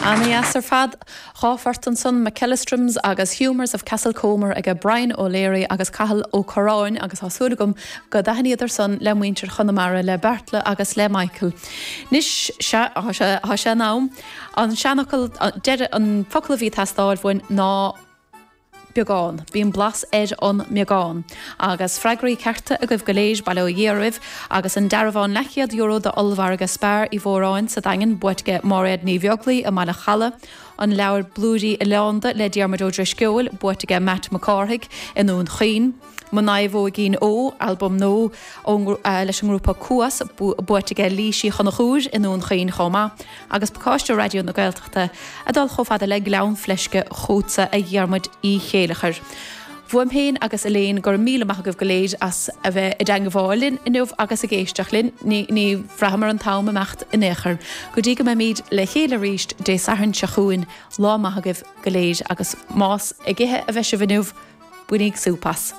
Ana-dheas ar fad. 2 phort ansan, McEllistrum's agus Humours of Castlecomer aige Brian O'Leary agus Cathal Ó Curráin agus tá súil agam go dtaithníodar san le muintir Chonamara, le Beartla agus le Michael. Anois, sea, tá sé, tá sé in am. An seanfhocal deiridh, an focal a bhí ag teastáil uainn ná beagán. Bíonn blas ar an mbeagán. Agus freagraí cearta agaibh go léir, bail ó Dhia oraibh. Agus an dearbhán leathchéad euro d'Ollmhargadh Spar Uí Mhóráin sa Daingean, buaite aige Máiréad Ní Bheaglaoi i mBaile Chalaidh. An leabhar Blúirí Oileánda le Diarmuid Ó Drisceoil, buaite aige Matt Mac Cárthaigh i nDún Chaoin. Mo Naomhóigín Ó, albam nua leis an ngrúpa Cuas, buaite aige Laoise Uí Chonchúir i nDún Chaoin chomh maith. Agus pacáiste Raidió na Gaeltachta ag dul chomh fada le Gleann Fleisce chugatsa a Dhiarmuid Uí Chéileachair. Uaim féin agus Elaine, go raibh míle maith agaibh go léir as a bheith i dteangmháil linn inniu agus ag éisteacht linn. Ní bhraitheamar an t-am imeacht in aon chor. Go dtí go mbeimid le chéile arís Dé Sathairn seo chugainn, lá maith agaibh go léir agus más ag ithe a bheidh sibh inniu, Bainíg súp as.